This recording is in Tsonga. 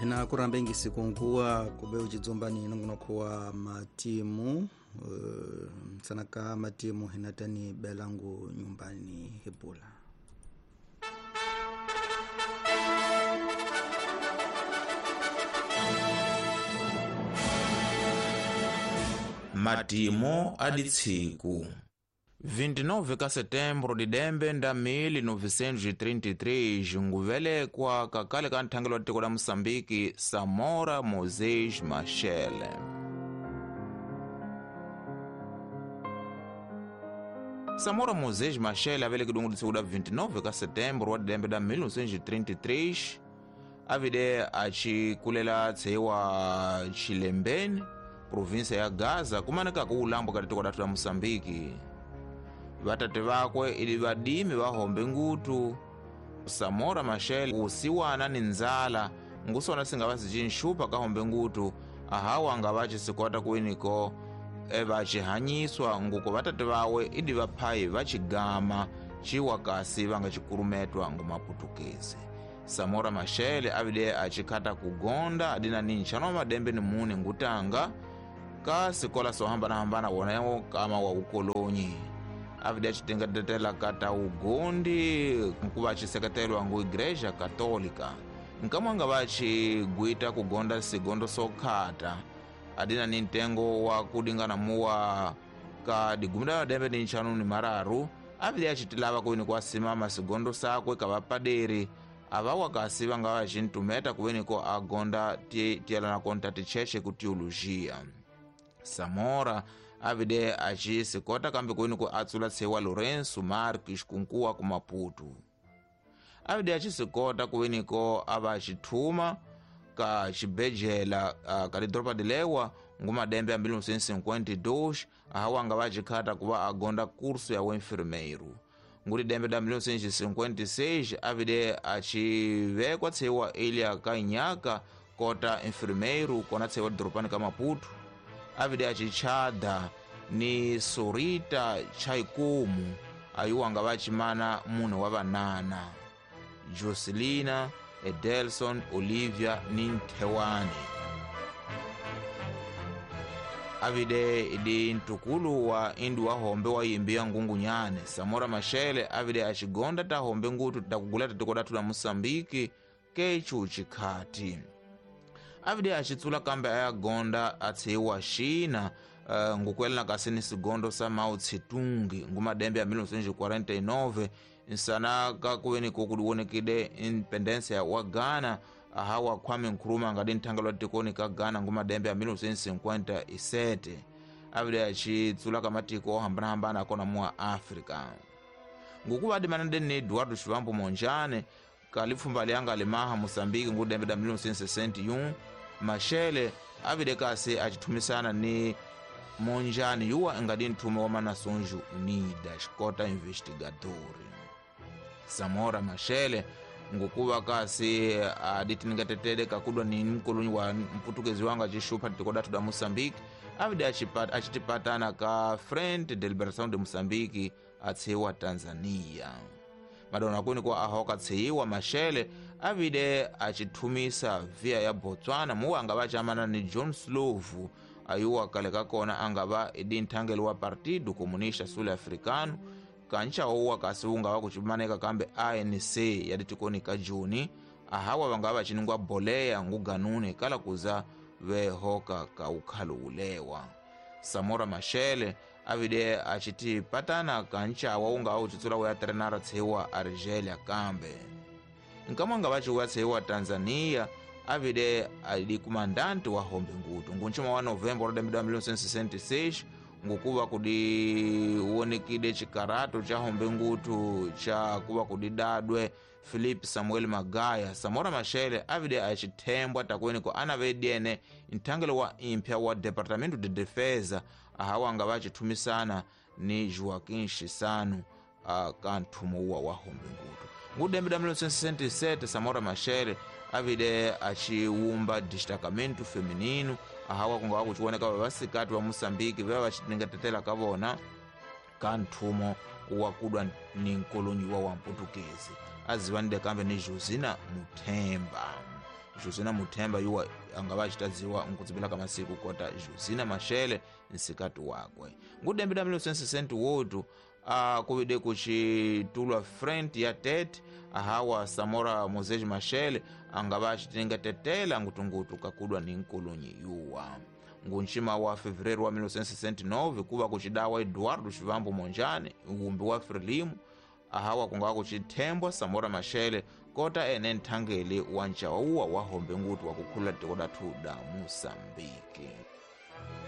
Hina kurambe sikunguwa kube uchidzomba ni nongonoko wa matimu sanaka matimu hinatani belangu nyumbani hipula. Matimo aditsiku 29 ka setembro de dembe nda 1933 nguvelekwa kakale ka nthangelo wa tiko la Moçambique Samora Moses Machel. Samora Moses Machel avelekidwe ngudisiku da 29 ka setembro wa dembe da 1933 avide achikulela tseiwa Chilembeni, província ya Gaza, kumaneka kuulambwa ka tiko datu la Moçambique. Vatate vakwe ili vadimi vahombe ngutu. Samora Machel usiwana ni nzala ngusona singava sicinxupa kahombe ngutu ahawa anga vacisikwata kuwiniko vacihanyiswa nguko vatate vawe idi vaphayi vacigama ciwa kasi vanga cikurumetwa ngumaputukezi. Samora Machel avide acikhata kugonda adina ni nxano wa madembe ni mune ngutanga ka sikola sohambanahambana wonewo kama wa ukolonyi. Avide acitengatetela kata ugondi nkuva aciseketelwa ngu Igreja Católica. Nkamwanga vacigwita kugonda sigondo sokhata adina ni ntengo wa kudingana muwa ka digumida madembe ni nxanu ni mararu. Avide acitilava kuwini kwasimama sigondo sakwe ka vapaderi avawa kasi vanga vacintumeta kuwiniko agonda tielana konta ticheche ku teologia. Samora avide acisikota kambe kuwiniko atsula tsewa Lourenço Marques kunkuwa ku Maputo. Avide acisikota kuwiniko ava acithuma ka cibejela ka lidoropa dilewa ngumadembe ya 1952 ahawanga vacikhata kuva agonda kurso ya uenfermeiro. Nguri dembe da 1956 avide acivekwa tsewa ilha ka Inhaka kota enfermeiro kona tsewa doropani ka Maputo. Avide acichada ni Sorita Chaikumu ayuwanga vacimana munhu wa vanana Jocelina, Edelson, Olivia ni Nthewani. Avide idi ntukulu wa indu wa hombe wa yimbi ngungunyane. Samora Machel avide acigonda ta hombe ngutu takugula tiko datu la Moçambique kechu chikhati. Avide acitsula kambe ayagonda atsiwa China ngukwelana kasi ni sigondo sa Mao Tse-tung ngumadembe ya 1949 nsana kakuweni kukudiwonekide independência wa Ghana ahawa Kwame Nkrumah ngadi nthangelo wa tikoni ka Ghana ngumadembe ya 1957. Avide acitsula kamatiko ohambanahambana akona muwa Africa. Ngukuva adimanade ni Eduardo Chivambo Monjane kalipfumba lianga limaha Moçambique ngudembe da 1961. Machel avide kasi acithumisana ni Monjane yuwa ngadi nthume wa Nações Unidas kota investigadori. Samora Machel ngukuva kasi aditiningatetele kakudwa ni mkolonyi wa mputukezi wanga acixupha tiko datu da Moçambique avide acitipatana ka Frente de Liberação de Moçambique atsiwa Tanzania. Madonna kuni kwa ahoka tsiwa Machel avide acithumisa via ya Botswana muwa anga vachamana ni John Slovu ayuwa kale kakona angava idi nthangelo wa Partido Comunista Sul Africano kancha ouwa kasi ungava kucimaneka kambe ANC yaditikoni ka Juni ahawa vangava vaciningwa boleya nguganune kala kuza vehoka ka ukhalo ulewa. Samora Machel avide acitipatana kanchawa ungava ucitsula uya trenara tsiwa Argelia kambe. Nkamwanga vaciuya tsiwa Tanzania avide ali kumandante wa hombe ngutu ngunchuma wa novembro de 1966 ngukuva kudiwonekide chikarato cha hombe ngutu cha kuva kudidadwe Philip Samuel Magaya. Samora Machel avide acithembwa takweniko anavediene nthangelo wa impya wa Departamento de Defesa ahawanga vacithumisana ni Joaquim Chissano ka nthumo uwa wa hombe ngutu. Ngudembe da 1967 Samora Machel avide aciwumba destacamento feminino ahawa kungawa kuciwoneka vavasikati va Moçambique veva vacitingatetela ka vona ka nthumo wa kudwa ni nkolonyi wa mputukezi azivanide kambe ni Josina Muthemba. Josina Muthemba yuwa angava acitadziwa nkudzipela ka masiku kota Josina Machel nsikati wakwe. Ngudembe da 1968 kuvide kucitulwa frente ya Tete, ahawa Samora Moses Machel angava acitenga tetela ngutungutu kakudwa ni nkolonyi yuwa. Ngunxima wa fevereiro wa 1969 kuva kucidawa Eduardo Chivambo Monjane wumbi wa Frelimo, ahawa kungava kucithembwa Samora Machel kota ene nthangeli wa ncawauwa wa hombe ngutu wa kukhulula tiko lathu da Moçambique.